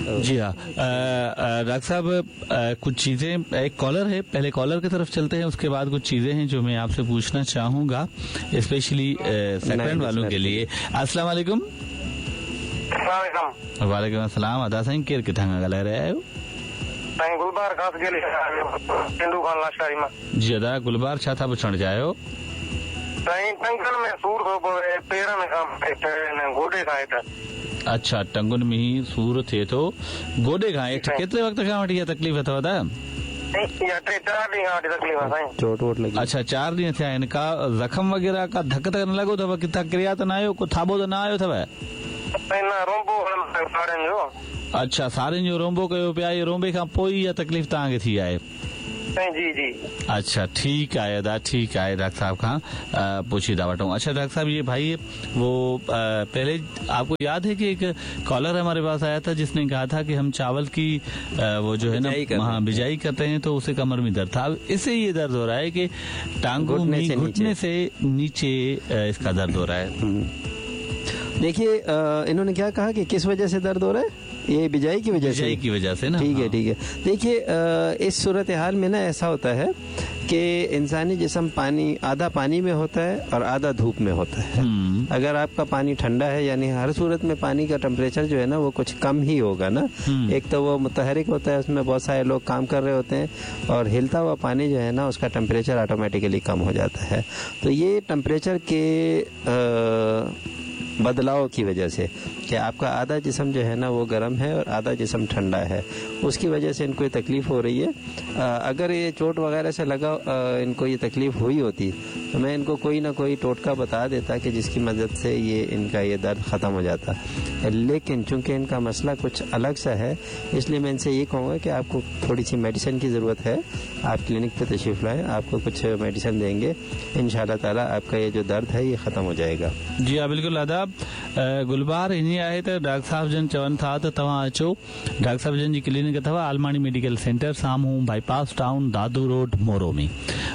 जी हाँ, डॉक्टर साहब, कुछ चीजें, एक कॉलर है, पहले कॉलर की तरफ चलते हैं, उसके बाद कुछ चीजें हैं जो मैं आपसे पूछना चाहूंगा, स्पेशली सेकंड वालों के लिए। अस्सलाम वालेकुम। वालेकुम अस्सलाम। अदा साईं, केरु किथां खां ॻाल्हाए रहिया आहियो? साईं, गुलबार खास गेली, टिंडू खान लाशारी मां। जी अदा गुलबार, छा था पुछणु चाहियो? साईं, टंगनि में सूर थो पवे, पेरनि खां हेठि, गोॾे खां हेठि। अच्छा, टंगुनि में सूर थिए थो, गोॾे खां हेठि। केतिरे वक़्त खां वठी इहा तकलीफ़ अथव अदा? टे चारि ॾींहं खां वठी तकलीफ़ आहे साईं। चोट वोट लॻी? अच्छा, 4 ॾींहं थिया आहिनि। का ज़ख़म वग़ैरह, का धक त न लॻो अथव? किथां किरिया त न आहियो? को थाॿो त न आयो अथव? साईं, न, रोंबो साड़ियुनि जो। अच्छा, साड़ियुनि जो रोंबो कयो पिया। इहो रोंबे खां पोइ इहा तकलीफ़ तव्हांखे थी आहे? साईं, जी जी। अच्छा, ठीक आहे अदा, ठीक आहे। डॉक्टर साहब खां पुछी था वठूं। अच्छा डॉक्टर साहब, ये भाई वो पहले आपको याद है कि एक कॉलर हमारे पास आया था, जिसने कहा था कि हम चावल की वो जो है बिजाई ना करते हाँ, हैं। बिजाई करते हैं तो उसे कमर में दर्द था। अब इससे ये दर्द हो रहा है कि टांगों घुटने में से घुटने नीचे। से नीचे इसका दर्द हो रहा है। देखिए, इन्होंने क्या कहा कि किस वजह से दर्द हो रहा है? ये बिजाई की वजह से। बिजाई की वजह से ना। ठीक है। हाँ। ठीक है। देखिए, इस सूरत हाल में ना ऐसा होता है कि इंसानी जिस्म पानी, आधा पानी में होता है और आधा धूप में होता है। अगर आपका पानी ठंडा है, यानी हर सूरत में पानी का टेम्परेचर जो है ना वो कुछ कम ही होगा ना। एक तो वो मुतहरिक होता है, उसमें बहुत सारे लोग काम कर रहे होते हैं और हिलता हुआ पानी जो है ना उसका टेम्परेचर ऑटोमेटिकली कम हो जाता है। तो ये टेम्परेचर के बदलाव की वजह से कि आपका आधा जिस्म जो है ना वो गर्म है और आधा जिस्म ठंडा है, उसकी वजह से इनको ये तकलीफ़ हो रही है। अगर ये चोट वगैरह से लगा इनको ये तकलीफ़ हुई होती तो मैं इनको कोई ना कोई टोटका बता देता कि जिसकी मदद से ये इनका ये दर्द ख़त्म हो जाता। लेकिन चूंकि इनका मसला कुछ अलग सा है, इसलिए मैं इनसे ये कहूँगा कि आपको थोड़ी सी मेडिसिन की ज़रूरत है। आप क्लिनिक पे तशरीफ़ लाएँ, आपको कुछ मेडिसिन देंगे, इंशाअल्लाह ताला आपका ये जो दर्द है ये ख़त्म हो जाएगा। जी हाँ, बिल्कुल आदाब। गुलबार, हीअं आहे त डॉक्टर साहब जन चवनि था त तव्हां अचो, डॉक्टर साहब जन जी क्लिनिक अथव आलमाणी मेडिकल सेंटर, साम्हूं बाईपास टाउन, दादू रोड, मोरो में।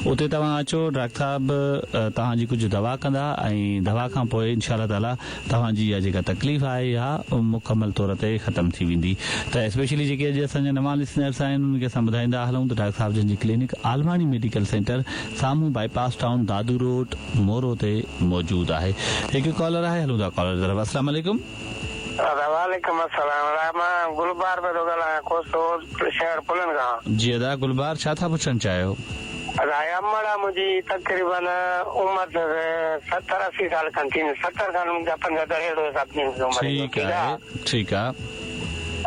उते तव्हां अचो, डॉक्टर साहब तव्हांजी कुझु दवा कंदा ऐं दवा खां पोइ इंशा ताला तव्हांजी इहा जेका तकलीफ़ आहे, इहा मुकमल तौर ते ख़तमु थी वेंदी। त स्पेशली जेके अॼु असांजा नवां लिसनर्स आहिनि, उन्हनि खे असां ॿुधाईंदा हलूं त डॉक्टर साहब जन जी क्लिनिक आलमाणी मेडिकल सेंटर, साम्हूं बाईपास टाउन, दादू रोड, मोरो ते मौजूदु आहे। हिकु कॉलर आहे, हलूं था कॉलर तरफ़। अस्सलाम वालेकुम। वालेकुम अस्सलाम। मां गुलबार पियो थो ॻाल्हायां, कोसो शहर पुलनि खां। जी अदा गुलबार, छा था पुछणु चाहियो? अदा, अमड़ आहे मुंहिंजी, तक़रीबन उमिरि 70-80 साल खनि थींदी, 70 साल मुंहिंजा 75 अहिड़ो हिसाब थींदी उमिरि। ठीक आहे, ठीक आहे।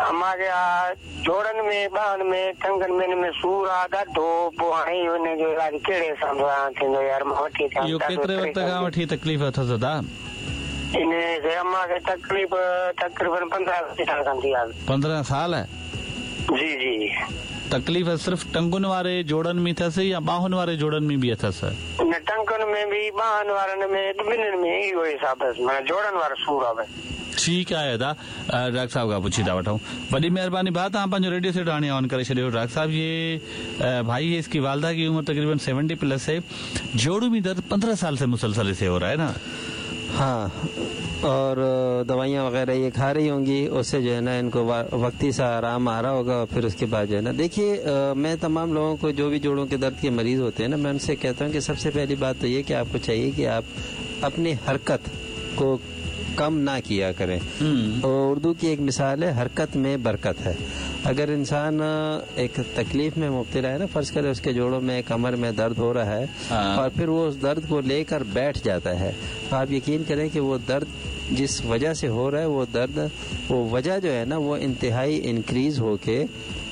अम्मा खे आहे जोड़नि में, ॿाहनि में, टंगनि में, हिन में सूर आहे ॾाढो। पोइ हाणे हिन जो इलाज कहिड़े हिसाब सां थींदो यार? मां वठी अचां। इहो केतिरे वक़्त खां वठी तकलीफ़ अथसि अदा? इन खे, अम्मा खे तकलीफ़ तक़रीबन 15 साल खां थी आहे। 15 साल? जी। तकलीफ़ सिर्फ़ टंगुनि वारे जोड़नि में अथसि या ॿाहुनि वारे जोड़नि में बि अथसि? न, टंगुनि में बि, ॿाहनि वारनि में, ॿिन्हिनि में इहो हिसाब अथसि, माना जोड़नि वारो सूर आहे। ठीक आहे अदा, डॉक्टर साहब खां पुछी था वठूं। वॾी मेहरबानी भाउ, तव्हां पंहिंजो रेडियो सेट हाणे ऑन करे छॾियो। डॉक्टर साहब, ये भाई है, इसकी वालदा की उम्र तकरीबन 70 प्लस है, जोड़ों में दर्द 15 साल से मुसलसल इसे हो रहा है ना। हाँ, और दवाइयाँ वगैरह ये खा रही होंगी, उससे जो है ना इनको वक्ती सा आराम आ रहा होगा और फिर उसके बाद जो है ना, देखिए, मैं तमाम लोगों को जो भी जोड़ों के दर्द के मरीज़ होते हैं ना, मैं उनसे कहता हूँ कि सबसे पहली बात तो ये कि आपको चाहिए कि आप अपनी हरकत को कम ना किया करें। और उर्दू की एक मिसाल है, हरकत में बरकत है। अगर इंसान एक तकलीफ में मुब्तला है ना, फर्ज करे उसके जोड़ों में, कमर में दर्द हो रहा है और फिर वो उस दर्द को लेकर बैठ जाता है, तो आप यकीन करें कि वो दर्द जिस वजह से हो रहा है, वो दर्द, वो वजह जो है ना वो इंतहाई इंक्रीज होके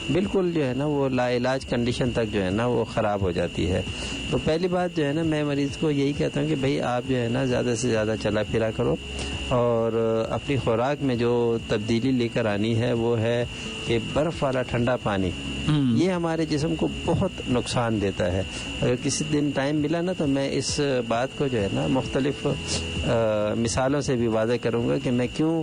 बिल्कुल जो है ना वो लाइलाज कंडीशन तक जो है ना वो ख़राब हो जाती है। तो पहली बात जो है ना मैं मरीज़ को यही कहता हूँ कि भाई, आप जो है ना ज़्यादा से ज़्यादा चला फिरा करो और अपनी खुराक में जो तब्दीली लेकर आनी है वो है कि बर्फ़ वाला ठंडा पानी, ये हमारे जिस्म को बहुत नुकसान देता है। अगर किसी दिन टाइम मिला ना तो मैं इस बात को जो है ना मुख्तलिफ मिसालों से भी वाज़ेह करूँगा कि मैं क्यों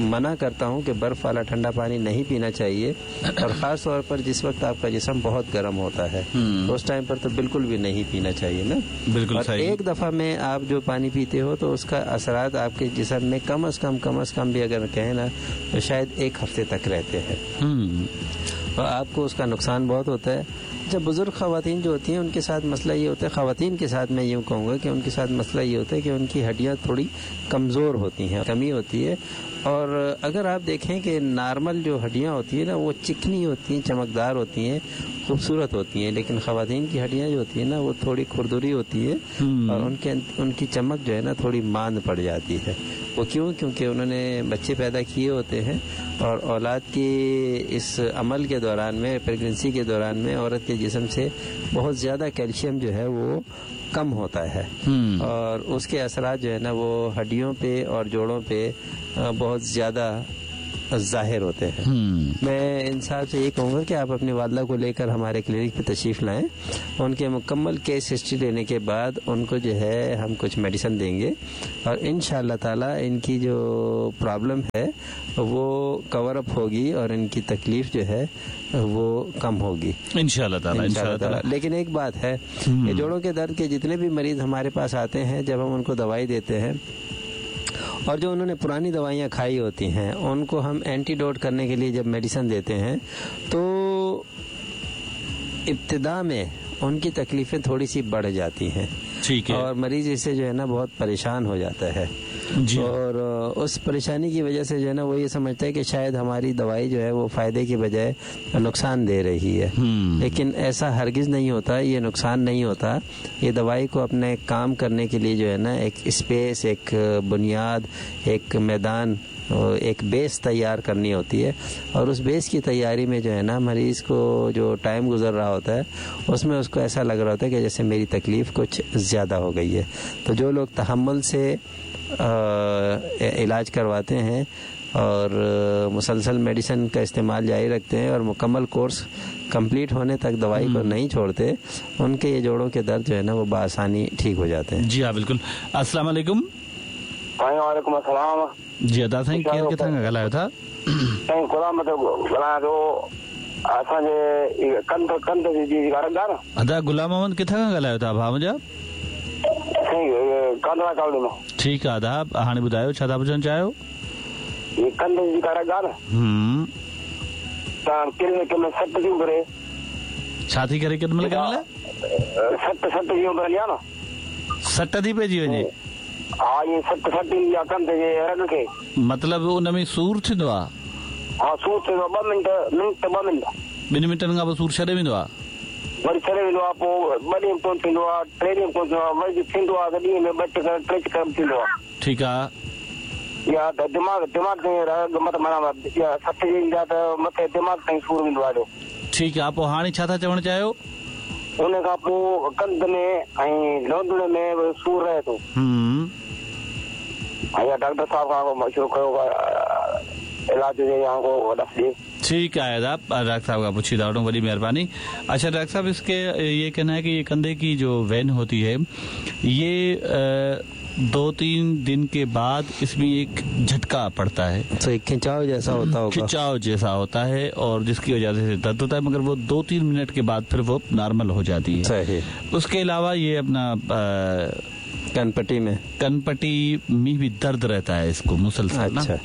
मना करता हूँ कि बर्फ़ वाला ठंडा पानी नहीं पीना चाहिए, और ख़ास तौर पर जिस वक्त आपका जिस्म बहुत गर्म होता है उस टाइम पर तो बिल्कुल भी नहीं पीना चाहिए ना। बिल्कुल और सही। एक दफ़ा में आप जो पानी पीते हो तो उसका असरात आपके जिस्म में कम अज़ कम भी अगर कहें ना तो शायद 1 हफ्ते तक रहते हैं, और आपको उसका नुकसान बहुत होता है। जब बुज़ुर्ग ख़वातीन जो होती हैं उनके साथ मसला ये होता है, ख़वातीन के साथ मैं यूँ कहूँगा कि उनके साथ मसला ये होता है कि उनकी हड्डियाँ थोड़ी कमज़ोर होती हैं, कमी होती है। और अगर आप देखें कि नॉर्मल जो हड्डियाँ होती हैं ना वो चिकनी होती हैं, चमकदार होती हैं, खूबसूरत होती हैं, लेकिन ख़वातीन की हड्डियाँ जो होती हैं ना वो थोड़ी खुरदुरी होती है और उनकी चमक जो है ना थोड़ी मांद पड़ जाती है। वो क्यों? क्योंकि उन्होंने बच्चे पैदा किए होते हैं और औलाद के इस अमल के दौरान में, प्रेगनेंसी के दौरान में औरत के जिस्म से बहुत ज़्यादा कैल्शियम जो है वो कम होता है, और उसके असरात जो है ना वो हड्डियों पे और जोड़ों पे बहुत ज़्यादा ज़ाहिर होते हैं। मैं इन साहब से ये कहूँगा कि आप अपनी वालदा को लेकर हमारे क्लिनिक पे तशरीफ़ लाएं, उनके मुकम्मल केस हिस्ट्री लेने के बाद उनको जो है हम कुछ मेडिसिन देंगे और इंशाअल्लाह ताला इनकी जो प्रॉब्लम है वो कवर अप होगी और इनकी तकलीफ़ जो है वो कम होगी इंशाअल्लाह ताला, इंशाअल्लाह ताला। लेकिन एक बात है कि जोड़ों के दर्द के जितने भी मरीज़ हमारे पास आते हैं, जब हम उनको दवाई देते हैं और जो उन्होंने पुरानी दवाइयाँ खाई होती हैं उनको हम एंटीडोट करने के लिए जब मेडिसिन देते हैं तो इब्तिदा में उनकी तकलीफ़ें थोड़ी सी बढ़ जाती हैं। ठीक है। और मरीज़ इससे जो है ना बहुत परेशान हो जाता है जी। और उस परेशानी की वजह से जो है ना वो ये समझता है कि शायद हमारी दवाई जो है वो फ़ायदे की बजाय नुकसान दे रही है, लेकिन ऐसा हरगिज़ नहीं होता। ये नुकसान नहीं होता। ये दवाई को अपने काम करने के लिए जो है ना एक स्पेस, एक बुनियाद, एक मैदान, एक बेस तैयार करनी होती है, और उस बेस की तैयारी में जो है ना मरीज़ को जो टाइम गुजर रहा होता है उसमें उसको ऐसा लग रहा होता है कि जैसे मेरी तकलीफ़ कुछ ज़्यादा हो गई है। तो जो लोग तहम्मुल से इलाज करवाते हैं और मुसलसल मेडिसिन का इस्तेमाल जारी रखते हैं और मुकम्मल कोर्स कंप्लीट होने तक दवाई को नहीं छोड़ते, उनके ये जोड़ों के दर्द जो है ना वो बआसानी ठीक हो जाते हैं। जी हाँ बिल्कुल। अस्सलाम वालेकुम। वालेकुम अस्सलाम। जी अदा साईं, केर किथां खां ॻाल्हायो था? साईं गुलाम ॻाल्हायां थो। असांजे कंध कंध जी रग आहे न। अदा गुलाम मोहम्मद किथां खां ॻाल्हायो था भाउ मुंहिंजा? साईं कांधड़ा कॉलोनी मां। ठीकु आहे अदा, हाणे ॿुधायो छा था पुछणु चाहियो? कंध जी रग आहे न, तव्हां केॾी महिल सट थी उभरे। छा थी करे केॾी महिल? केॾी महिल सट सट थी उभरंदी आहे न, सट थी पइजी वञे। हा, इहे सट सट ईंदी आहे कंध जे रग खे। मतिलबु उन में सूर थींदो आहे? हा, सूर थींदो आहे। 2 मिंट मिंट 2 मिंट 2 मिंटनि खां पोइ सूर छॾे वेंदो आहे, वरी छॾे वेंदो आहे। पोइ 2 ॾींहं कोन थींदो आहे, 3 ॾींहं कोन थींदो आहे, वरी थींदो आहे त ॾींहं में 2 चकर 3 चकर थींदो आहे। ठीकु आहे। या त दिमाग़ दिमाग़ ताईं रग मतिलबु माना सट जे ईंदा त मथे दिमाग़ ताईं सूर वेंदो आहे। ठीकु आहे, पोइ हाणे छा था चवणु चाहियो? उन खां पोइ कंध में ऐं लोंदड़ में सूर रहे थो। ऐं डॉक्टर साहब खां मशवरो कयो इलाज हुजे या को ॾस ॾिए। ठीक है साहब, डॉक्टर साहब का पूछी वठूं, बड़ी मेहरबानी। अच्छा डॉक्टर साहब, इसके ये कहना है कि ये कंधे की जो when होती है ये 2-3 दिन के बाद इसमें एक झटका पड़ता है, तो एक खिंचाव जैसा होता होगा। खिंचाव जैसा होता है और जिसकी वजह से दर्द होता है, मगर वो 2-3 मिनट के बाद फिर वो नॉर्मल हो जाती है। सही। उसके अलावा ये अपना कनपट्टी में भी दर्द रहता है इसको मुसलसल। अच्छा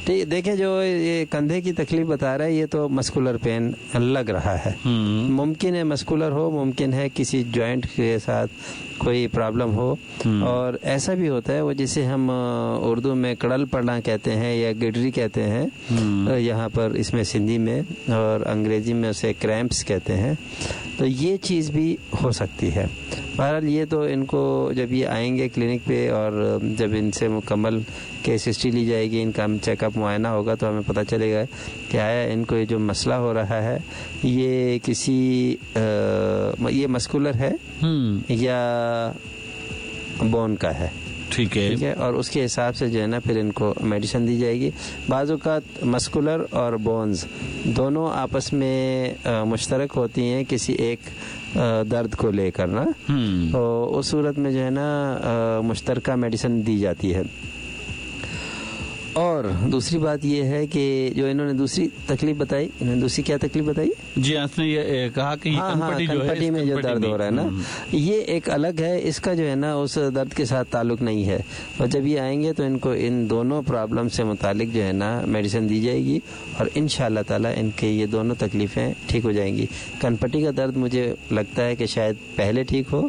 ठीक। देखें जो ये कंधे की तकलीफ बता रहा है ये तो मस्कुलर पेन लग रहा है। मुमकिन है मस्कुलर हो, मुमकिन है किसी जॉइंट के साथ कोई प्रॉब्लम हो, और ऐसा भी होता है वो जिसे हम उर्दू में कड़ल पड़ना कहते हैं या गिडरी कहते हैं यहाँ पर, इसमें सिंधी में, और अंग्रेजी में उसे क्रैम्प्स कहते हैं। तो ये चीज़ भी हो सकती है। बहरहाल ये तो इनको जब ये आएंगे क्लिनिक पे और जब इनसे मुकम्मल केस हिस्ट्री ली जाएगी, इनका चेकअप मुआयना होगा, तो हमें पता चलेगा कि आया इनको ये जो मसला हो रहा है ये किसी ये मस्कुलर है या बोन का है। ठीक है, ठीक है। और उसके हिसाब से जो है ना फिर इनको मेडिसिन दी जाएगी। बाज़ औक़ात मस्कुलर और बोन्स दोनों आपस में मुश्तरक होती हैं किसी एक दर्द को लेकर ना, तो उस सूरत में जो है ना मुश्तरका मेडिसिन दी जाती है। और दूसरी बात ये है कि जो इन्होंने दूसरी तकलीफ बताई, इन्होंने दूसरी क्या तकलीफ बताई? जी, इसने ये कहा कि हाँ, कनपटी में जो दर्द हो रहा है ना, ये एक अलग है, इसका जो है ना उस दर्द के साथ ताल्लुक नहीं है। और जब ये आएंगे तो इनको इन दोनों प्रॉब्लम से मुतालिक जो है ना मेडिसिन दी जाएगी और इंशाअल्लाह ताला इनके ये दोनों तकलीफ़ें ठीक हो जाएंगी। कनपटी का दर्द मुझे लगता है कि शायद पहले ठीक हो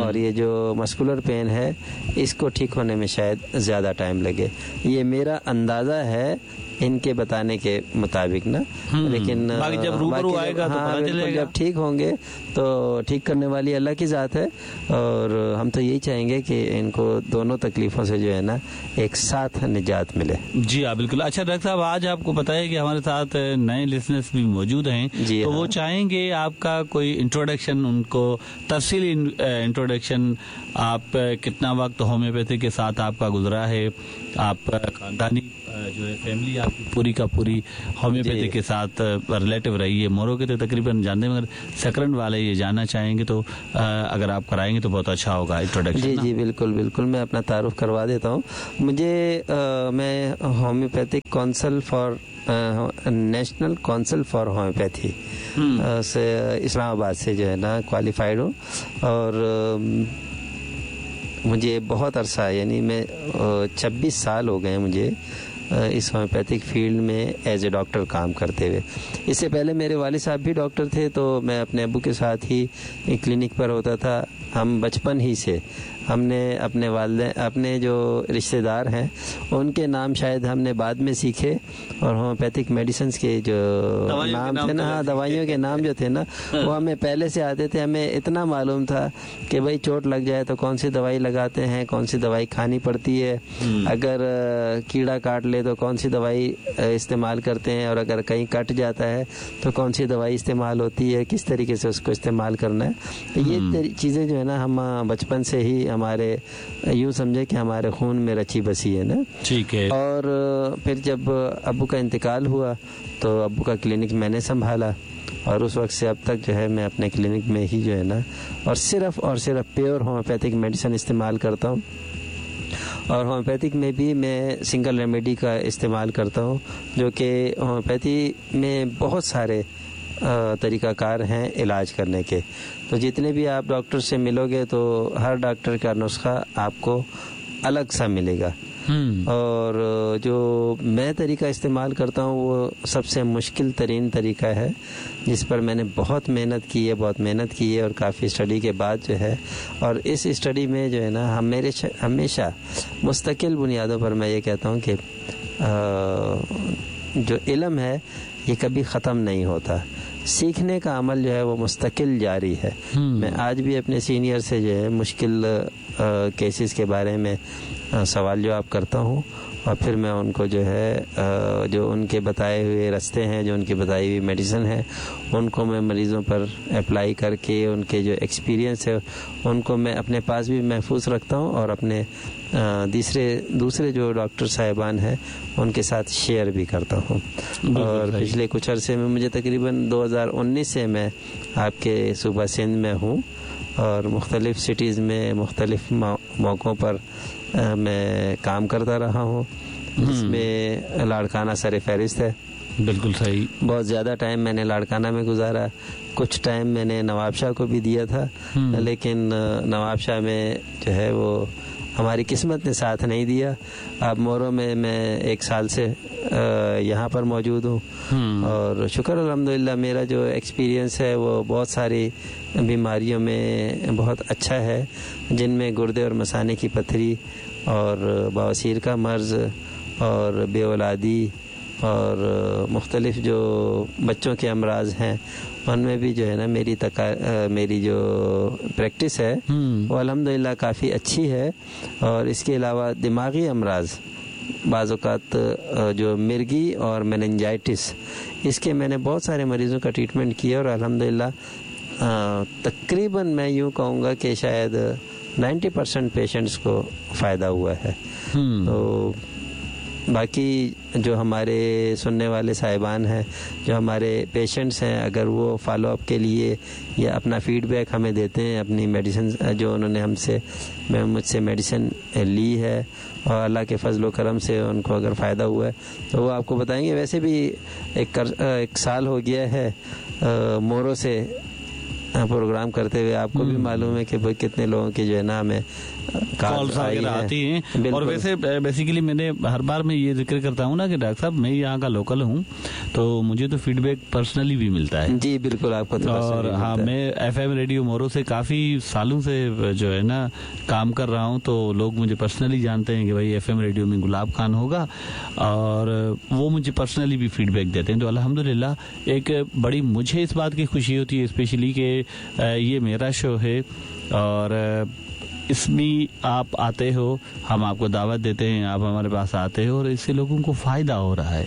और ये जो मस्कुलर पेन है इसको ठीक होने में शायद ज़्यादा टाइम लगे, ये मेरा अंदाज़ा है इनके बताने के मुताबिक ना। लेकिन बाकी जब रूबरू आएगा तो पता चलेगा। जब ठीक होंगे तो ठीक करने वाली अल्लाह की ज़ात है और हम तो यही चाहेंगे कि इनको दोनों तकलीफ़ों से जो है ना एक साथ निजात मिले। जी हाँ, बिल्कुल। अच्छा डॉक्टर साहब, आज आपको पता है कि हमारे साथ नए लिसनर्स भी मौजूद हैं, जी तो हाँ। वो चाहेंगे आपका कोई इंट्रोडक्शन, उनको तफसीली इंट्रोडक्शन, आप कितना वक्त होम्योपैथी के साथ आपका गुजरा है, आप खानदानी जो है फैमिली आपकी पूरी का पूरी होम्योपैथी के साथ रिलेटिव रही है, मोरो के तो तकरीबन जानते हैं, मगर सकरन वाले ये जानना चाहेंगे, तो अगर आप कराएंगे तो बहुत अच्छा होगा इंट्रोडक्शन। जी जी बिल्कुल बिल्कुल, मैं अपना तारुफ करवा देता हूँ। मुझे मैं homeopathic council for national council for homeopathy से इस्लामाबाद से जो है ना क्वालिफाइड हूँ और मुझे बहुत अरसा, यानी मैं 26 साल हो गए मुझे इस होम्योपैथिक फील्ड में एज ए डॉक्टर काम करते हुए। इससे पहले मेरे वालिद साहब भी डॉक्टर थे, तो मैं अपने अब्बू के साथ ही क्लिनिक पर होता था। हम बचपन ही से हमने अपने वालिदैन, अपने जो रिश्तेदार हैं उनके नाम शायद हमने बाद में सीखे और होम्योपैथिक मेडिसिन्स के जो नाम थे ना, हाँ दवाइयों के नाम जो थे ना वो हमें पहले से आते थे। हमें इतना मालूम था कि भाई चोट लग जाए तो कौन सी दवाई लगाते हैं, कौन सी दवाई खानी पड़ती है, अगर कीड़ा काट ले तो कौन सी दवाई इस्तेमाल करते हैं, और अगर कहीं कट जाता है तो कौन सी दवाई इस्तेमाल होती है, किस तरीके से उसको इस्तेमाल करना है। तो ये चीज़ें जो है ना हम बचपन से ही हमारे, यूँ समझे कि हमारे खून में रची बसी है ना। ठीक है। और फिर जब अब्बू का इंतकाल हुआ तो अब्बू का क्लिनिक मैंने संभाला और उस वक्त से अब तक जो है मैं अपने क्लिनिक में ही जो है ना और सिर्फ प्योर होम्योपैथिक मेडिसिन इस्तेमाल करता हूँ। और होम्योपैथिक में भी मैं सिंगल रेमेडी का इस्तेमाल करता हूँ, जो कि होम्योपैथी में बहुत सारे तरीक़ाकार हैं इलाज करने के। तो जितने भी आप डॉक्टर से मिलोगे तो हर डॉक्टर का नुस्खा आपको अलग सा मिलेगा। और जो मैं तरीका इस्तेमाल करता हूँ वो सबसे मुश्किल तरीन तरीका है, जिस पर मैंने बहुत मेहनत की है, बहुत मेहनत की है और काफ़ी स्टडी के बाद जो है, और इस स्टडी में जो है ना हम मेरे हमेशा मुस्तकिल बुनियादों पर मैं ये कहता हूँ कि जो इल्म है ये कभी ख़त्म नहीं होता, सीखने का अमल जो है वो मुस्तकिल जारी है। मैं आज भी अपने सीनियर से जो है मुश्किल केसेस के बारे में सवाल जवाब करता हूँ और फिर मैं उनको जो है जो उनके बताए हुए रास्ते हैं, जो उनकी बताई हुई मेडिसिन है, उनको मैं मरीज़ों पर अप्लाई करके उनके जो एक्सपीरियंस है उनको मैं अपने पास भी महफूज रखता हूँ और अपने दूसरे जो डॉक्टर साहिबान हैं उनके साथ शेयर भी करता हूँ। और पिछले कुछ अरसे में मुझे तकरीबन 2019 से मैं आपके सूबा सिंध में हूँ और मुख्तलिफ़ सिटीज़ में मुख्तलिफ़ मौक़ों पर मैं काम करता रहा हूँ, जिसमें लाड़काना सर फहरिस्त है। बिल्कुल सही। बहुत ज़्यादा टाइम मैंने लाड़काना में गुजारा, कुछ टाइम मैंने नवाबशाह को भी दिया था, लेकिन नवाबशाह में जो है वो हमारी किस्मत ने साथ नहीं दिया। अब मोरो में मैं एक साल से यहाँ पर मौजूद हूँ और शुक्र अल्हम्दुलिल्लाह मेरा जो एक्सपीरियंस है वो बहुत सारी बीमारियों में बहुत अच्छा है, जिनमें गुर्दे और मसाने की पथरी और बवासीर का मर्ज़ और बेऔलादी और मुख्तलिफ़ जो बच्चों के अमराज हैं उनमें भी जो है ना मेरी जो प्रैक्टिस है वो अल्हम्दुलिल्लाह काफ़ी अच्छी है। और इसके अलावा दिमागी अमराज, बाज़ औक़ात जो मिर्गी और मेनिंजाइटिस, इसके मैंने बहुत सारे मरीज़ों का ट्रीटमेंट किया और अल्हम्दुलिल्लाह तकरीबन मैं यूँ कहूँगा कि शायद 90% पेशेंट्स को फ़ायदा हुआ है। तो बाकी जो हमारे सुनने वाले साहिबान हैं, जो हमारे पेशेंट्स हैं, अगर वो फॉलोअप के लिए या अपना फीडबैक हमें देते हैं, अपनी मेडिसिन जो उन्होंने हमसे मुझसे मेडिसिन ली है और अल्लाह के फजल करम से उनको अगर फ़ायदा हुआ है तो वो आपको बताएंगे। वैसे भी एक साल हो गया है मोरो से प्रोग्राम करते हुए, आपको भी मालूम है कि भाई कितने लोगों की जो है ना हमें कॉल्स वगैरह आती हैं। और वैसे बेसिकली मैंने हर बार मैं ये जिक्र करता हूँ ना कि डॉक्टर साहब मैं यहाँ का लोकल हूँ, तो मुझे तो फीडबैक पर्सनली भी मिलता है। जी बिल्कुल, आपको तो और हाँ, मैं FM radio मोरो से काफी सालों से जो है ना काम कर रहा हूँ, तो लोग मुझे पर्सनली जानते हैं कि भाई FM radio में गुलाब खान होगा, और वो मुझे पर्सनली भी फीडबैक देते हैं। तो अल्हम्दुलिल्लाह एक बड़ी मुझे इस बात की खुशी होती है स्पेशली कि ये मेरा शो है और इसमें आप आते हो, हम आपको दावत देते हैं, आप हमारे पास आते हो और इससे लोगों को फ़ायदा हो रहा है,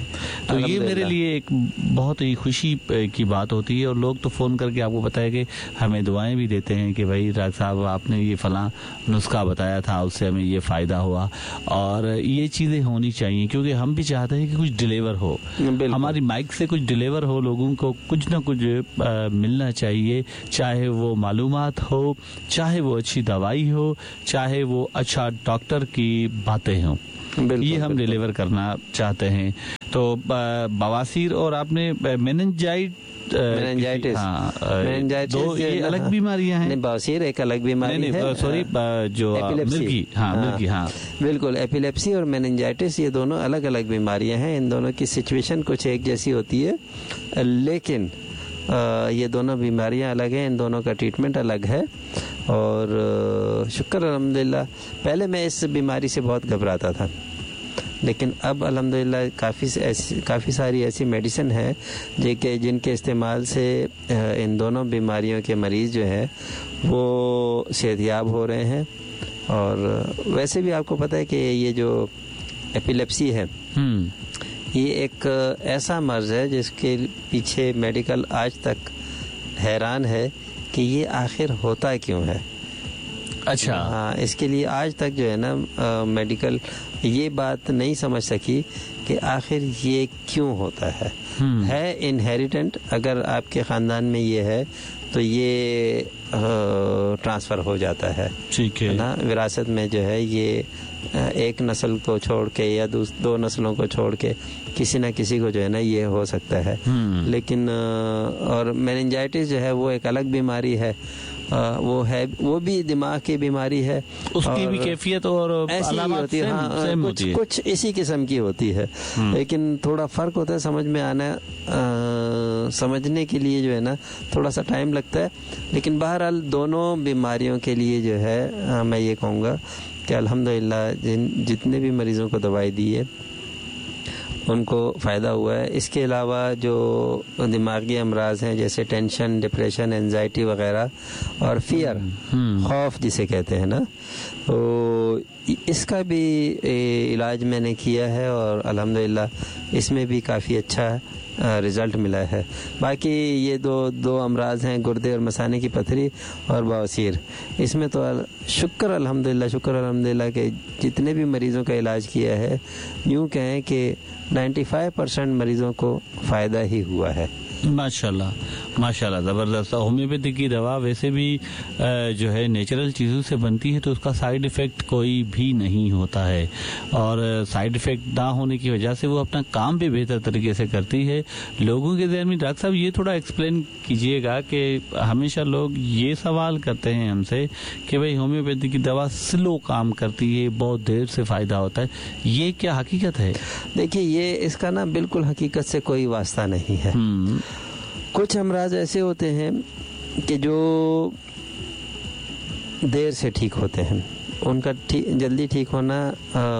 तो ये मेरे लिए एक बहुत ही खुशी की बात होती है। और लोग तो फ़ोन करके आपको पता है कि हमें दुआएं भी देते हैं कि भाई डॉक्टर साहब आपने ये फ़लाँ नुस्खा बताया था, उससे हमें ये फ़ायदा हुआ। और ये चीज़ें होनी चाहिए क्योंकि हम भी चाहते हैं कि कुछ डिलीवर हो, हमारी माइक से कुछ डिलीवर हो, लोगों को कुछ ना कुछ मिलना चाहिए, चाहे वो मालूमात हो, चाहे वो अच्छी दवाई हो, चाहे वो अच्छा डॉक्टर की बातें हों, ये हम डिलीवर करना चाहते हैं। तो बवासीर और आपने मेनिंजाइटिस, हाँ, दो ये अलग बीमारियां हैं। नहीं, बवासीर एक अलग बीमारी है, सॉरी जो मिर्गी, हाँ मिर्गी, हाँ बिल्कुल, एपिलेप्सी और मेनिंजाइटिस ये दोनों अलग अलग बीमारियां हैं। इन दोनों की सिचुएशन कुछ एक जैसी होती है, लेकिन ये दोनों बीमारियां अलग हैं, इन दोनों का ट्रीटमेंट अलग है। और शुक्र अल्हम्दुलिल्लाह, पहले मैं इस बीमारी से बहुत घबराता था, लेकिन अब अल्हम्दुलिल्लाह काफ़ी सारी ऐसी मेडिसिन है जिनके इस्तेमाल से इन दोनों बीमारियों के मरीज़ जो हैं वो सेहतयाब हो रहे हैं। और वैसे भी आपको पता है कि ये जो एपिलेप्सी है ये एक ऐसा मर्ज़ है जिसके पीछे मेडिकल आज तक हैरान है कि ये आखिर होता क्यों है। अच्छा, हाँ, इसके लिए आज तक जो है ना मेडिकल ये बात नहीं समझ सकी कि आखिर ये क्यों होता है। है इनहेरिटेंट, अगर आपके ख़ानदान में ये है तो ये ट्रांसफ़र हो जाता है, ठीक है ना, विरासत में जो है ये एक नस्ल को छोड़ के या दो नस्लों को छोड़ के किसी ना किसी को जो है ना ये हो सकता है। लेकिन और मेनिंजाइटिस जो है वो एक अलग बीमारी है, वो है, वो भी दिमाग की बीमारी है, उसकी भी कैफियत और ऐसी ही होती है, हाँ, कुछ कुछ इसी किस्म की होती है, लेकिन थोड़ा फ़र्क होता है, समझ में आना समझने के लिए जो है ना थोड़ा सा टाइम लगता है। लेकिन बहरहाल दोनों बीमारियों के लिए जो है मैं ये कहूँगा कि अल्हम्दुलिल्लाह जितने भी मरीज़ों को दवाई दी है उनको फ़ायदा हुआ है। इसके अलावा जो दिमागी अमराज हैं जैसे टेंशन, डिप्रेशन, एंजाइटी वगैरह और फियर, खौफ जिसे कहते हैं ना, तो इसका भी इलाज मैंने किया है और अल्हम्दुलिल्लाह इसमें भी काफ़ी अच्छा रिज़ल्ट मिला है। बाकी ये दो अमराज हैं, गुर्दे और मसाने की पथरी और बवासीर, इसमें तो शुक्र अल्हम्दुलिल्लाह के जितने भी मरीज़ों का इलाज किया है, यूँ कहें कि 95% मरीज़ों को फ़ायदा ही हुआ है। माशाल्लाह माशाल्लाह, ज़बरदस्त। होम्योपैथी की दवा वैसे भी जो है नेचुरल चीज़ों से बनती है, तो उसका साइड इफ़ेक्ट कोई भी नहीं होता है, और साइड इफ़ेक्ट ना होने की वजह से वो अपना काम भी बेहतर तरीके से करती है। लोगों के ज़हन में डॉक्टर साहब ये थोड़ा एक्सप्लेन कीजिएगा कि हमेशा लोग ये सवाल करते हैं हमसे कि भाई होम्योपैथी की दवा स्लो काम करती है, बहुत देर से फ़ायदा होता है, ये क्या हकीकत है? देखिए, ये इसका ना बिल्कुल हकीकत से कोई वास्ता नहीं है। कुछ अमराज ऐसे होते हैं कि जो देर से ठीक होते हैं, उनका जल्दी ठीक होना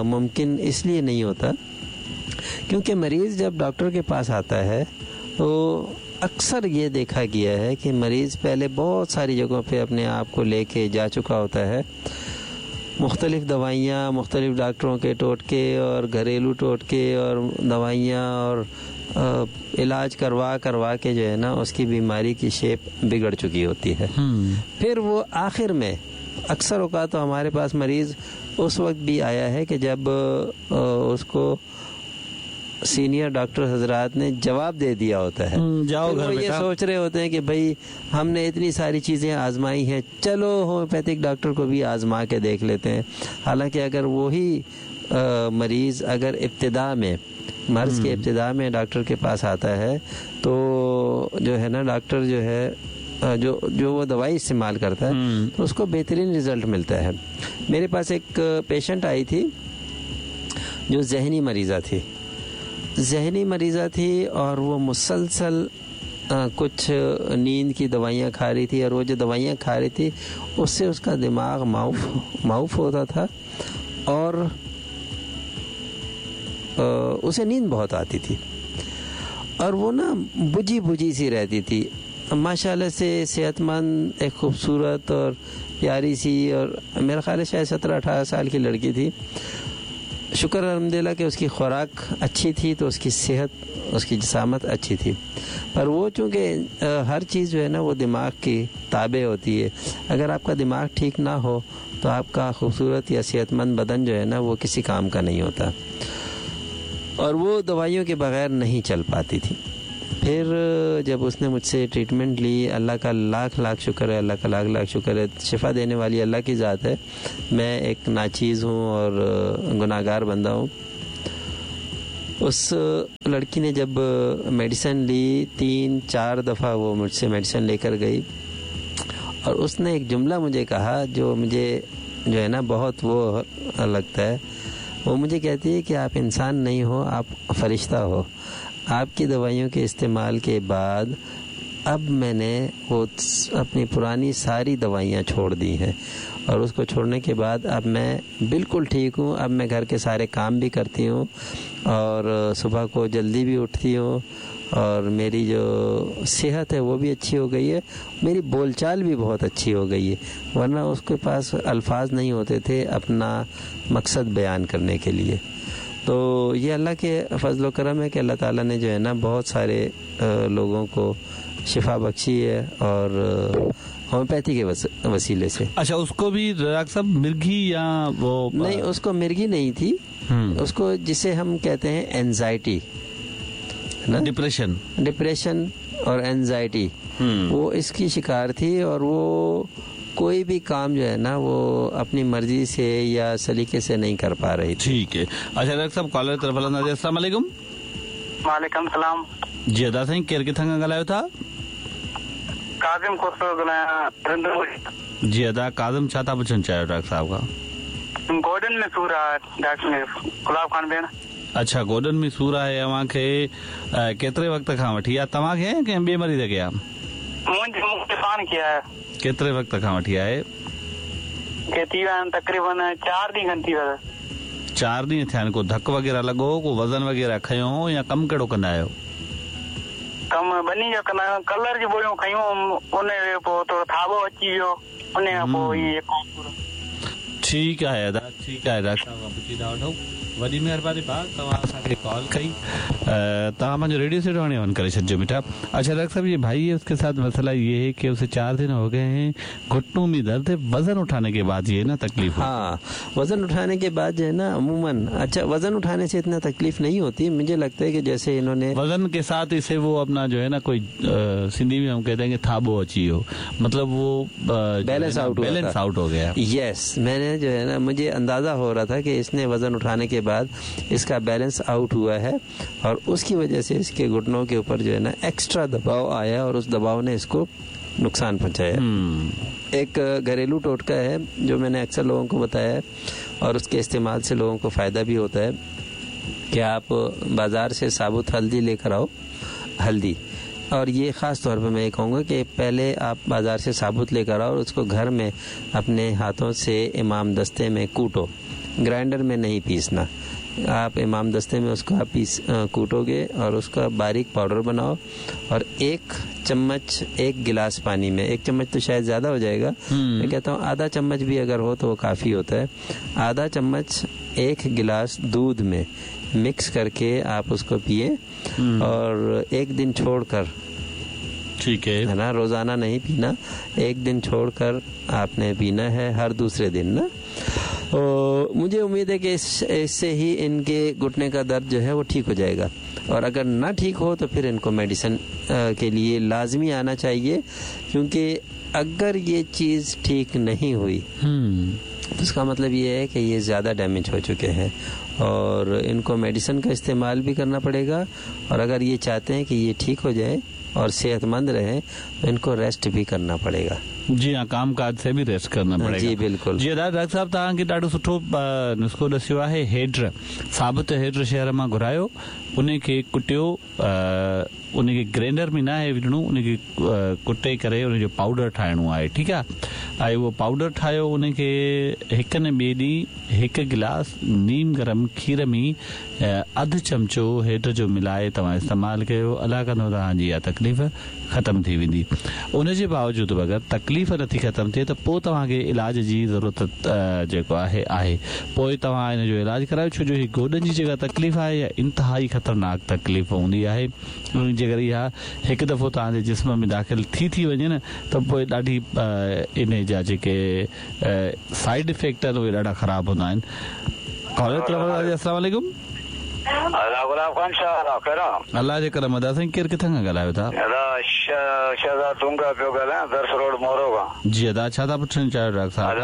मुमकिन इसलिए नहीं होता क्योंकि मरीज़ जब डॉक्टर के पास आता है तो अक्सर ये देखा गया है कि मरीज़ पहले बहुत सारी जगहों पे अपने आप को लेके जा चुका होता है, मुख्तलिफ़ दवाइयाँ, मुख्तलिफ़ डॉक्टरों के टोटके और घरेलू टोटके और दवाइयाँ और इलाज करवा करवा के जो है ना उसकी बीमारी की शेप बिगड़ चुकी होती है। फिर वो आखिर में अक्सर औकात तो हमारे पास मरीज़ उस वक्त भी आया है कि जब उसको सीनियर डॉक्टर हजरात ने जवाब दे दिया होता है। जाओ घर, वो ये सोच रहे होते हैं कि भाई हमने इतनी सारी चीज़ें आजमाई हैं, चलो होम्योपैथिक डॉक्टर को भी आजमा के देख लेते हैं। हालांकि अगर वही मरीज़ अगर इब्तिदा में, मर्ज़ के इब्तिदा में डॉक्टर के पास आता है तो जो है ना डॉक्टर जो है जो जो वो दवाई इस्तेमाल करता है तो उसको बेहतरीन रिज़ल्ट मिलता है। मेरे पास एक पेशेंट आई थी जो ज़हनी मरीज़ा थी, ज़हनी मरीज़ा थी और वो मुसलसल कुछ नींद की दवाइयाँ खा रही थी और वो जो दवाइयाँ खा रही थी उससे उसका दिमाग माउफ होता था और उसे नींद बहुत आती थी और वो ना बुझी बुझी सी रहती थी। माशाअल्लाह से सेहतमंद, एक खूबसूरत और प्यारी सी, और मेरा ख्याल है शायद 17-18 साल की लड़की थी। शुक्र अल्हम्दुलिल्लाह कि उसकी खुराक अच्छी थी तो उसकी सेहत, उसकी जिसामत अच्छी थी। पर वो चूँकि हर चीज़ जो है ना वो दिमाग की ताबे होती है। अगर आपका दिमाग ठीक ना हो तो आपका खूबसूरत या सेहतमंद बदन जो है ना वो किसी काम का नहीं होता और वो दवाइयों के बग़ैर नहीं चल पाती थी। फिर जब उसने मुझसे ट्रीटमेंट ली, अल्लाह का लाख लाख शुक्र है, अल्लाह का लाख लाख शुक्र है, शिफा देने वाली अल्लाह की ज़ात है। मैं एक नाचीज़ हूँ और गुनाहगार बंदा हूँ। उस लड़की ने जब मेडिसिन ली, 3-4 दफ़ा वो मुझसे मेडिसिन लेकर गई और उसने एक जुमला मुझे कहा जो मुझे जो है ना बहुत वो लगता है। वो मुझे कहती है कि आप इंसान नहीं हो, आप फरिश्ता हो। आपकी दवाइयों के इस्तेमाल के बाद अब मैंने वो अपनी पुरानी सारी दवाइयाँ छोड़ दी हैं और उसको छोड़ने के बाद अब मैं बिल्कुल ठीक हूँ। अब मैं घर के सारे काम भी करती हूँ और सुबह को जल्दी भी उठती हूँ और मेरी जो सेहत है वो भी अच्छी हो गई है, मेरी बोलचाल भी बहुत अच्छी हो गई है। वरना उसके पास अल्फाज नहीं होते थे अपना मकसद बयान करने के लिए। तो ये अल्लाह के फजल करम है कि अल्लाह ताला ने जो है ना बहुत सारे लोगों को शिफा बख्शी है और होम्योपैथी के वसीले से। अच्छा, उसको भी डॉक्टर साहब मिर्गी या वो? नहीं, उसको मिर्गी नहीं थी, उसको जिसे हम कहते हैं एंजाइटी ना, डिप्रेशन और एंजाइटी, वो इसकी शिकार थी और वो कोई भी काम जो है ना वो अपनी मर्जी से या सलीके से नहीं कर पा रही थी। ठीक है। अच्छा डॉक्टर साहब, कॉलर तरफ़ हलंदासीं। अस्सलाम वालेकुम। वालेकुम सलाम। जी अदा साईं, केरु किथां खां ॻाल्हायो था? काज़िम खोसो ॻाल्हायां। जी अदा काज़िम, छा था पुछणु चाहियो डॉक्टर साहब खां? गोॾनि में सूर आहे डॉक्टर गुलाब खान भेण। अच्छा, गोॾनि में सूर आहे अव्हांखे केतिरे वक़्त खां वठी आहे? तव्हांखे आहे कंहिं ॿिए मरीज़ खे आहे? मुंहिंजे पाण खे आहे। केतिरे वक़्त खां वठी आहे? थी विया आहिनि तक़रीबन 4 ॾींहं खनि थी विया। 4 ॾींहं थिया आहिनि। को धक वग़ैरह लॻो, को वज़न वग़ैरह खयो हो या कमु कहिड़ो कंदा आहियो? कमु ॿिन्ही जो कंदा आहियूं। कलर जी बोरियूं खयूं, उन पोइ थोरो थाॿो अची वियो, उन खां पोइ इहो। ठीकु आहे अदा, ठीकु आहे। डॉक्टर साहब खां पुछी था वठूं। वॾी महिरबानी भाउ, तव्हां असांखे कॉल कई। तव्हां पंहिंजो रेडियो सेट हाणे ऑन करे छॾिजो मिठा। अच्छा डॉक्टर साहब, ये भाई है, उसके साथ मसला ये है कि उसे 4 दिन हो गए हैं, घुटनों में दर्द है, वजन उठाने के बाद ये ना तकलीफ। हाँ, वजन उठाने के बाद जो है ना अमूमन, अच्छा वजन उठाने से इतना तकलीफ नहीं होती, मुझे लगता है कि जैसे इन्होंने वजन के साथ इसे वो अपना जो है ना कोई सिंधी में हम कहते हैं कि थाबो अची हो, मतलब वो बैलेंस आउट हो गया। यस, मैंने जो है ना मुझे अंदाजा हो रहा था कि इसने वजन उठाने के बाद इसका बैलेंस आउट हुआ है और उसकी वजह से इसके घुटनों के ऊपर जो है ना एक्स्ट्रा दबाव आया और उस दबाव ने इसको नुकसान पहुंचाया। एक घरेलू टोटका है जो मैंने अक्सर लोगों को बताया है और उसके इस्तेमाल से लोगों को फ़ायदा भी होता है कि आप बाज़ार से साबुत हल्दी लेकर आओ, हल्दी, और ये ख़ास तौर पे मैं ये कहूँगा कि पहले आप बाज़ार से साबुत लेकर आओ और उसको घर में अपने हाथों से इमाम दस्ते में कूटो, ग्राइंडर में नहीं पीसना। आप इमाम दस्ते में उसको आप पीस कूटोगे और उसका बारीक पाउडर बनाओ और 1 चम्मच 1 गिलास पानी में, 1 चम्मच तो शायद ज़्यादा हो जाएगा, मैं कहता हूँ आधा चम्मच भी अगर हो तो वो काफ़ी होता है। आधा चम्मच 1 गिलास दूध में मिक्स करके आप उसको पिए और 1 दिन छोड़कर, ठीक है ना, रोज़ाना नहीं पीना, 1 दिन छोड़कर आपने पीना है, हर दूसरे दिन ना। तो मुझे उम्मीद है कि इससे ही इनके घुटने का दर्द जो है वो ठीक हो जाएगा। और अगर ना ठीक हो तो फिर इनको मेडिसिन के लिए लाजमी आना चाहिए, क्योंकि अगर ये चीज़ ठीक नहीं हुई तो इसका मतलब ये है कि ये ज़्यादा डैमेज हो चुके हैं और इनको मेडिसिन का इस्तेमाल भी करना पड़ेगा। और अगर ये चाहते हैं कि ये ठीक हो जाए और सेहतमंद रहें तो इनको रेस्ट भी करना पड़ेगा। जी हाँ, काम काज से भी रेस्ट करना पड़ेगा। जी बिल्कुल। जी डॉक्टर साहब, तव्हांखे ॾाढो सुठो नुस्खो ॾसियो आहे। हेड्र, साबुत हेड्र शहर मां घुरायो, उनखे कुटियो, उनखे ग्राइंडर में न आहे विझणो, उनखे कुटे करे उनजो पाउडर ठाहिणो आहे, ठीकु आहे। ऐं उहो पाउडर ठाहियो, उनखे हिकु न ॿिए ॾींहुं हिकु गिलास नीम गरम खीर में अधु चमचो हेड जो मिलाए तव्हां इस्तेमालु कयो, अलाह कंदो तव्हांजी इहा तकलीफ़ ख़तमु थी वेंदी। उनजे बावजूद बि अगरि तकलीफ़ नथी ख़तमु थिए त पोइ तव्हांखे इलाज जी ज़रूरत जेको आहे आहे, पोइ तव्हां हिन जो इलाज करायो, छो जो हीअ गोॾनि जी जेका तकलीफ़ आहे इहा इंतिहाई ख़तरनाक तकलीफ़ हूंदी आहे। जेकर इहा हिकु दफ़ो तव्हांजे जिस्म में दाख़िल थी थी वञे न त पोइ ॾाढी इन जा जेके साइड इफ़ेक्ट आहिनि उहे ॾाढा ख़राबु हूंदा आहिनि। अस्सलाम वालेकुम। अल्लाह जे करम अदा साईं, केरु किथां खां ॻाल्हायो था? शहज़ाद डूंगा पियो ॻाल्हायां, दर्स रोड मोरो खां। जी अदा, छा था पुछणु चाहियो डॉक्टर साहब?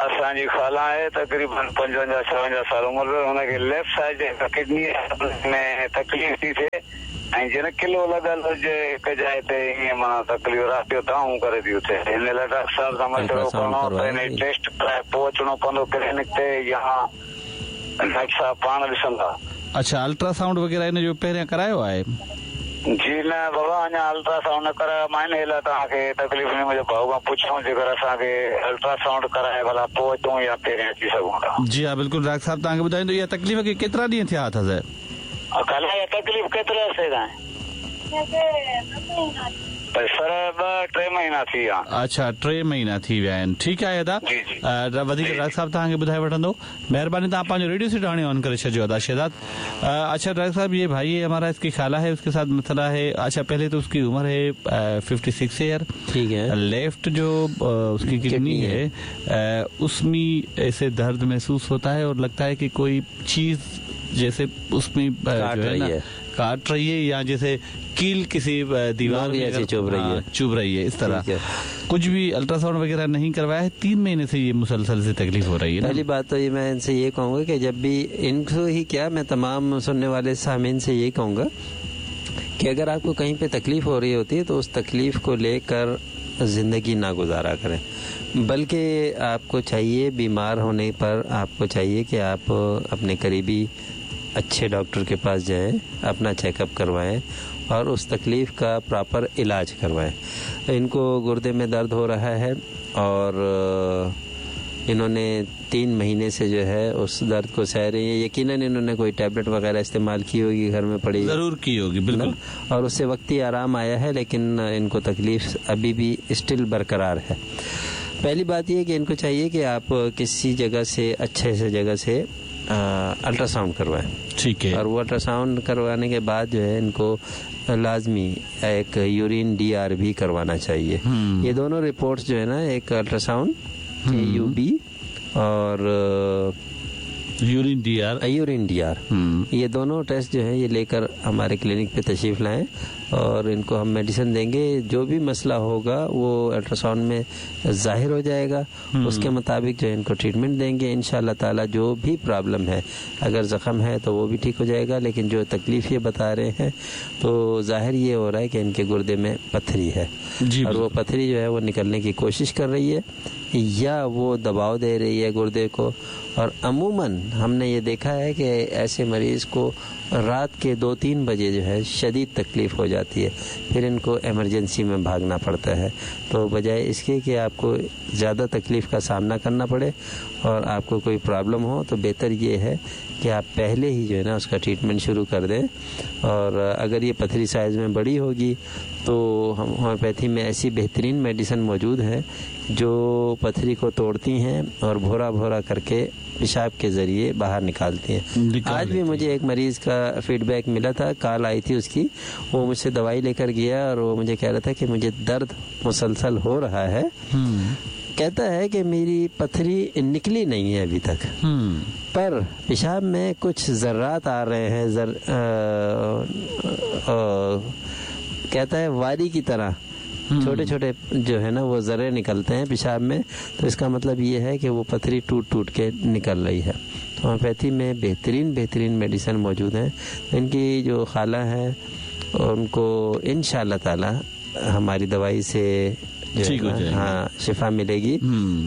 असांजी खाला आहे, तक़रीबन 55 56 साल उमिरि, हुनखे लेफ्ट साइड किडनी में तकलीफ़ थी थिए ऐं जन किलो लॻल हुजे हिकु जाइ ते, ईअं माना तकलीफ़ राति जो दाऊं करे थी उथे। हिन लाइ डॉक्टर साहब सां मशवरो करिणो त हिन टेस्ट कराए पोइ अचिणो पवंदो क्लिनिक ते, या डॉक्टर साहब पाण ॾिसंदा? अच्छा, अल्ट्रासाउंड वग़ैरह हिन जो पहिरियां करायो आहे? जी न बाबा, अञा अल्ट्रासाउंड न करायो मां, हिन लाइ तव्हांखे तकलीफ़ ॾिनी। मुंहिंजो भाउ खां पुछूं, जेकर असांखे अल्ट्रासाउंड कराए भला पोइ अचूं या पहिरियां अची सघूं था? जी हा बिल्कुलु डॉक्टर साहब तव्हांखे ॿुधाईंदो। इहा तकलीफ़ खे केतिरा ॾींहं थिया अथसि? खाला तकलीफ़ केतिरे अरसे खां? सर 2-3 महीना थी विया। अच्छा, 3 महीना थी विया आहिनि। ठीकु आहे अदा, वधीक डॉक्टर साहब तव्हांखे ॿुधाए वठंदो। महिरबानी, तव्हां पंहिंजो रेडियो सेट हाणे ऑन करे छॾिजो अदा शहज़ाद। अच्छा डॉक्टर साहब, ये भाई है हमारा, इसकी खाला है, उसके साथ मसला है। अच्छा, पहले तो उसकी उम्र है 56 ईयर, ठीक है। लेफ्ट जो उसकी किडनी है उसमें ऐसे दर्द महसूस होता है और लगता है कि कोई चीज जैसे उसमें जो है ना काट रही है, या जैसे कील किसी दीवार में चुभ रही है, चुभ रही है, इस तरह। कुछ भी अल्ट्रासाउंड वगैरह नहीं करवाया है, 3 महीने से ये मुसलसल से तकलीफ हो रही है। पहली बात तो ये मैं इनसे ये कहूँगा कि जब भी इनको ही क्या, मैं तमाम सुनने वाले सामीन से ये कहूँगा कि अगर आपको कहीं पे तकलीफ हो रही होती है तो उस तकलीफ को लेकर ज़िंदगी ना गुजारा करें, बल्कि आपको चाहिए बीमार होने पर आपको चाहिए कि आप अपने करीबी अच्छे डॉक्टर के पास जाएं, अपना चेकअप करवाएं और उस तकलीफ़ का प्रॉपर इलाज करवाएं। इनको गुर्दे में दर्द हो रहा है और इन्होंने 3 महीने से जो है उस दर्द को सह रही है। यकीनन इन्होंने कोई टैबलेट वगैरह इस्तेमाल की होगी, घर में पड़ी ज़रूर की होगी, बिल्कुल, और उससे वक्ती आराम आया है, लेकिन इनको तकलीफ़ अभी भी स्टिल बरकरार है। पहली बात यह कि इनको चाहिए कि आप किसी जगह से, अच्छे से जगह से अल्ट्रासाउंड करवाएं, ठीक है। और वो अल्ट्रासाउंड करवाने के बाद जो है इनको लाजमी एक यूरिन DR भी करवाना चाहिए। ये दोनों रिपोर्ट्स जो है ना, एक अल्ट्रासाउंड UB और यूरिन DR, ये दोनों टेस्ट जो है ये लेकर हमारे क्लिनिक पे तशरीफ़ लाएं और इनको हम मेडिसिन देंगे। जो भी मसला होगा वो अल्ट्रासाउंड में ज़ाहिर हो जाएगा, उसके मुताबिक जो है इनको ट्रीटमेंट देंगे। इंशाअल्लाह ताला जो भी प्रॉब्लम है, अगर ज़ख़म है तो वो भी ठीक हो जाएगा, लेकिन जो तकलीफ़ ये बता रहे हैं तो ज़ाहिर ये हो रहा है कि इनके गुर्दे में पथरी है और वो पथरी जो है वो निकलने की कोशिश कर रही है या वो दबाव दे रही है गुर्दे को। और अमूमन हमने ये देखा है कि ऐसे मरीज़ को रात के 2-3 बजे जो है शदीद तकलीफ़ हो जाती है, फिर इनको एमरजेंसी में भागना पड़ता है। तो बजाय इसके कि आपको ज़्यादा तकलीफ़ का सामना करना पड़े और आपको कोई प्रॉब्लम हो, तो बेहतर ये है कि आप पहले ही जो है ना उसका ट्रीटमेंट शुरू कर दें। और अगर ये पथरी साइज़ में बड़ी होगी तो हम होम्योपैथी में ऐसी बेहतरीन मेडिसिन मौजूद है जो पथरी को तोड़ती हैं और भोरा भोरा करके पेशाब के ज़रिए बाहर निकालती हैं। आज भी मुझे एक मरीज़ का फीडबैक मिला था, कॉल आई थी उसकी, वो मुझसे दवाई लेकर गया और वो मुझे कह रहा था कि मुझे दर्द मुसलसल हो रहा है, कहता है कि मेरी पथरी निकली नहीं है अभी तक, पर पेशाब में कुछ ज़र्रात आ रहे हैं, कहता है वारी की तरह छोटे छोटे जो है ना वो ज़र्रे निकलते हैं पेशाब में, तो इसका मतलब ये है कि वो पथरी टूट टूट के निकल रही है। तो होम्योपैथी में बेहतरीन बेहतरीन मेडिसिन मौजूद हैं। तो इनकी जो खाला है उनको इंशाअल्लाह ताला हमारी दवाई से जो है, हाँ, शिफा मिलेगी।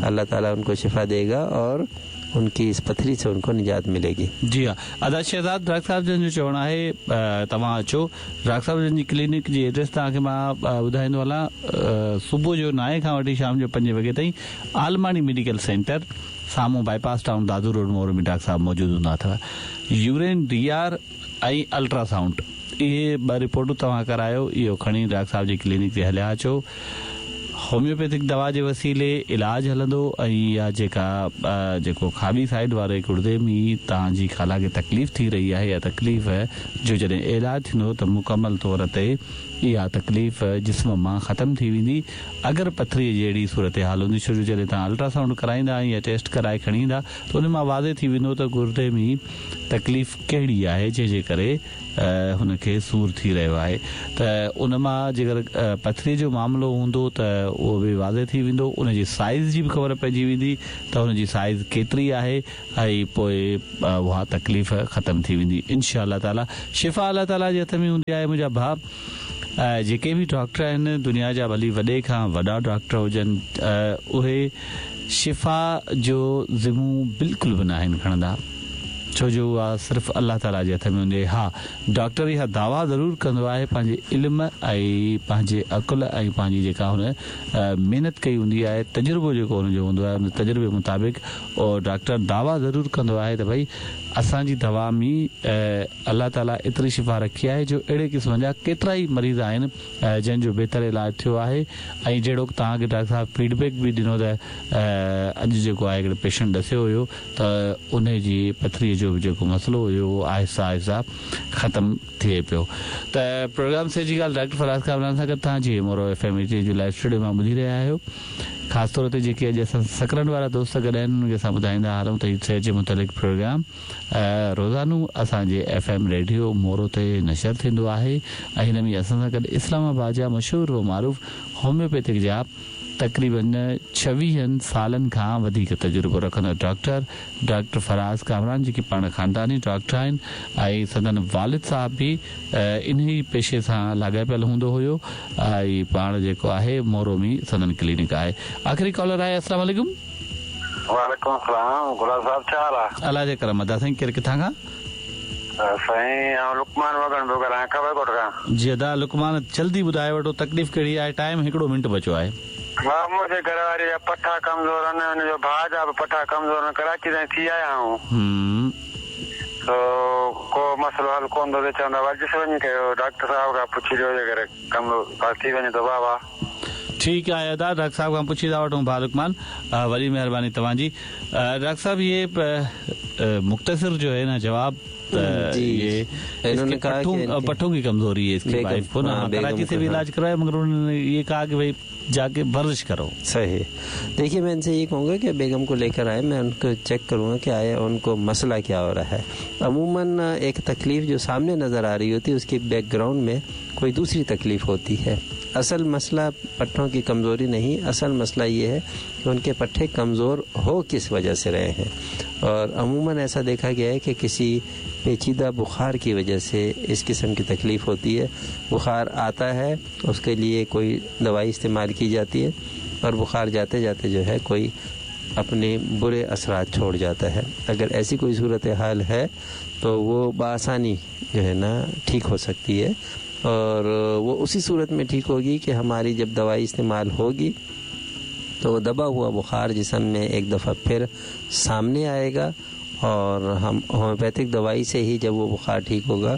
अल्लाह ताला उनको शिफा देगा और उनकी इस पथरी से उनको निजात मिलेगी। जी हाँ, अदा शहजाद डॉक्टर साहब जन जो चवणु आहे, तव्हां अचो। डॉक्टर साहब जन जी क्लिनिक जी एड्रेस तव्हांखे मां ॿुधाईंदो हलां। सुबुह जो 9 खां वठी शाम जो 5 वॻे ताईं आलमाणी मेडिकल सेंटर साम्हूं bypass town Dadu road Moro में डॉक्टर साहब मौजूदु हूंदा अथव। यूरिन DR ऐं अल्ट्रासाउंड इहे ॿ रिपोर्टूं तव्हां करायो, इहो खणी डॉक्टर साहब जी क्लिनिक ते हलिया अचो। होम्योपैथिक दवा जे वसीले इलाज हलंदो ऐं इहा जेका जेको खाॿी साइड वारे गुर्दे में तव्हांजी खाला खे तकलीफ़ थी रही आहे या तकलीफ़ जो जॾहिं इलाज थींदो त मुकमल तौर ते इहा तकलीफ़ जिस्म मां ख़तमु थी वेंदी। अगरि पथरीअ जहिड़ी सूरत हाल हूंदी, छो जो जॾहिं तव्हां अल्ट्रासाउंड कराईंदा या टेस्ट कराए खणी ईंदा त उन मां वाज़े थी वेंदो त गुर्दे में तकलीफ़ कहिड़ी आहे जंहिंजे करे हुनखे सूर थी रहियो आहे। त उन मां जेकर पथरीअ जो मामिलो हूंदो त उहो बि वाज़े थी वेंदो, उनजी साइज़ जी बि ख़बर पइजी वेंदी त हुनजी साइज़ केतिरी आहे ऐं पोइ उहा तकलीफ़ ख़तमु थी वेंदी इंशा अल्लाह ताला। शिफ़ा अल्लाह ताला जे हथ में हूंदी आहे। मुंहिंजा भाउ, जेके बि डॉक्टर आहिनि दुनिया जा, भली वॾे खां वॾा डॉक्टर हुजनि, उहे शिफ़ा जो ज़िमो बिल्कुलु बि न आहिनि खणंदा, छो जो उहा सिर्फ़ु अल्लाह ताला जे हथ में हूंदी आहे। हा, डॉक्टर इहा दावा ज़रूरु कंदो आहे पंहिंजे इल्म ऐं पंहिंजे अक़ुल ऐं पंहिंजी जेका हुन महिनत कई हूंदी आहे, तजुर्बो जेको हुनजो हूंदो आहे, उन तजुर्बे मुताबिक़ और डॉक्टर दावा ज़रूरु कंदो आहे त भई असांजी दवा में अल्लाह ताला एतिरी शिफ़ा रखी आहे जो अहिड़े क़िस्म जा केतिरा ई मरीज़ आहिनि जंहिंजो बहितर इलाज थियो आहे। ऐं जहिड़ो तव्हांखे डॉक्टर साहिबु फीडबैक बि ॾिनो त अॼु जेको आहे हिकिड़े पेशेंट ॾसियो हुयो त उन जी पथरीअ जो जेको मसइलो हुयो उहो आहिस्ता आहिस्ता ख़तमु थिए पियो। त प्रोग्राम से जी ॻाल्हि डॉक्टर फराज़ कामरान सां गॾु तव्हां जी मोरो FM जो लाइव स्टूडियो मां ॿुधी रहिया आहियो। ख़ासि तौर ते जेके अॼु असां सकरंड वारा दोस्त गॾु आहिनि उन्हनि खे असां ॿुधाईंदा हलूं त सेहत जे मुतालिक़ प्रोग्राम रोज़ानो असांजे FM radio Moro ते नशर थींदो आहे ऐं हिन में असां सां गॾु इस्लामाबाद जा मशहूर व मारूफ़ होम्योपैथिक जा तक़रीबन 26 सालनि खां वधीक तजुर्बो रखंदड़ डॉक्टर डॉक्टर फराज़ कामरान, जेके पाण ख़ानदानी डॉक्टर आहिनि ऐं संदन वालिद साहिबु बि इन ई पेशे सां लाॻापियल हूंदो हुयो ऐं पाण जेको आहे मोरो में संदन क्लिनिक आहे। आख़िरी कॉलर आहे। अस्सलाम वालेकुम। वालेकुम सलाम। गुलाब साहब, छा हाल आहे? अलाह जे करम अदा साईं, केरु किथां खां? साईं आउं लुकमान वगण पियो ॻाल्हायां, खबर ॻोठ खां। जी अदा लुकमान, जल्दी ॿुधाए वठो तकलीफ़ कहिड़ी आहे, टाइम हिकिड़ो मिंट बचियो आहे। ها, मुंहिंजे घर वारी जा पठा कमज़ोर आहिनि, हुनजो भाउ जा बि पठा कमज़ोर आहिनि, कराची ताईं थी आया आहियूं, तो को मसइलो हल कोन थो थिए। चवंदा वर्जिश वञी कयो, डॉक्टर साहब खां पुछी ॾियो, जेकर कमु थी वञे त वाह वाह। ठीकु आहे अदा, डॉक्टर साहब खां पुछी था वठूं। भाउ लुकमान, वॾी महिरबानी तव्हांजी। डॉक्टर साहब, ये मुख्तसर जो है ना जवाब, ये इन्होंने कहा पट्ठों की कमजोरी है इसकी वाइफ को ना, कराची से भी इलाज करवाया मगर उन्होंने ये कहा कि भाई जाके वर्जिश करो। सही। देखिए, मैं इनसे ये कहूँगा कि बेगम को लेकर आए, मैं उनको चेक करूँगा कि आया उनको मसला क्या हो रहा है। अमूमन एक तकलीफ़ जो सामने नज़र आ रही होती है उसकी बैकग्राउंड में कोई दूसरी तकलीफ़ होती है। असल मसला पट्ठों की कमज़ोरी नहीं, असल मसला ये है कि उनके पट्ठे कमज़ोर हो किस वजह से रहे हैं। और अमूमन ऐसा देखा गया है कि किसी पेचीदा बुखार की वजह से इस किस्म की तकलीफ़ होती है। बुखार आता है, उसके लिए कोई दवाई इस्तेमाल की जाती है और बुखार जाते जाते जो है कोई अपने बुरे असरात छोड़ जाता है। अगर ऐसी कोई सूरत हाल है तो वो बआसानी जो है ना ठीक हो सकती है, और वो उसी सूरत में ठीक होगी कि हमारी जब दवाई इस्तेमाल होगी तो दबा हुआ बुखार जिस्म में एक दफ़ा फिर सामने आएगा, और हम होम्योपैथिक दवाई से ही जब वो बुखार ठीक होगा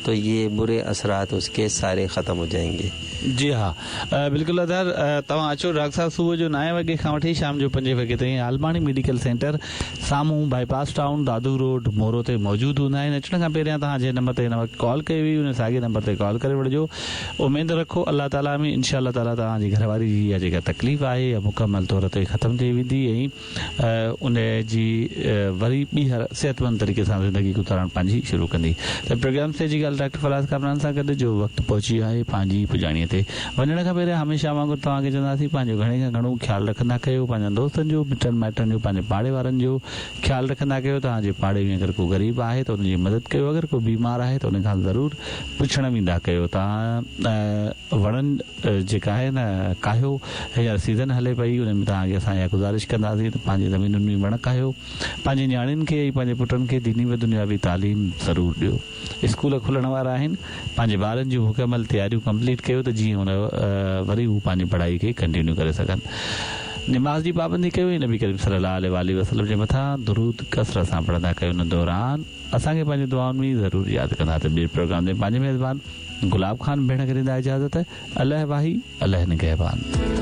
तो ये बुरे असरात उसके सारे ख़त्म हो जाएंगे। जी हा, बिल्कुल अदा, तव्हां अचो। डॉक्टर साहब सुबुह जो 9 वॻे खां वठी शाम जो 5 वॻे ताईं आलमाणी मेडिकल सेंटर साम्हूं बाईपास टाउन दादू रोड मोरो ते मौजूदु हूंदा आहिनि। अचण खां पहिरियां तव्हां जंहिं नंबर ते हिन वक़्तु कॉल कई हुई उन साॻे नंबर ते कॉल करे वठिजो। उमेद रखो अलाह ताला में इंशा ताला तव्हांजी घरवारी जी इहा जेका तकलीफ़ आहे इहा मुकमल तौर ते ख़तमु थी वेंदी ऐं उन जी वरी ॿीहर सिहतमंद तरीक़े सां ज़िंदगी गुज़ारणु पंहिंजी शुरू कंदी। त प्रोग्राम से जी ॻाल्हि डॉक्टर फराज़ कामरान सां गॾु जो वक़्तु पहुची वियो आहे पंहिंजी पुॼाणीअ ते। वञण खां पहिरियां हमेशा वांगुरु तव्हांखे चवंदासीं पंहिंजो घणे खां घणो ख़्यालु रखंदा कयो, पंहिंजनि दोस्तनि जो, मिटनि माइटनि जो, पंहिंजे पाड़े वारनि जो ख़्यालु रखंदा कयो। तव्हांजे पाड़े में अगरि को ग़रीब आहे त उनजी मदद कयो, अगरि को बीमार आहे त उन खां ज़रूरु पुछण वेंदा कयो। तव्हां वणनि जेका आहे न काहियो, हींअर सीज़न हले पई, उन में तव्हांखे असां इहा गुज़ारिश कंदासीं त पंहिंजी ज़मीनुनि में वण काहियो, पंहिंजी नियाणियुनि खे ऐं पंहिंजे पुटनि खे दीनी व दुनियावी तालीम ज़रूरु ॾियो। स्कूल खुलण वारा आहिनि, पंहिंजे ॿारनि जूं मुकमल तयारियूं कंप्लीट कयो त जीअं हुन वरी हू पंहिंजी पढ़ाई खे कंटिन्यू करे सघनि। नमाज़ जी पाबंदी कयो ऐं नबी करीम सल्लल्लाहु अलैहि वसल्लम जे मथां दुरूद कसरत सां पढ़ंदा कयो। उन दौरान असांखे पंहिंजी दुआउनि में ज़रूरु यादि कंदा। त ॿिए प्रोग्राम ते पंहिंजे मेज़बान गुलाब खान भेण खे ॾींदा इजाज़त। अलाह वाही, अलाह निगहबान।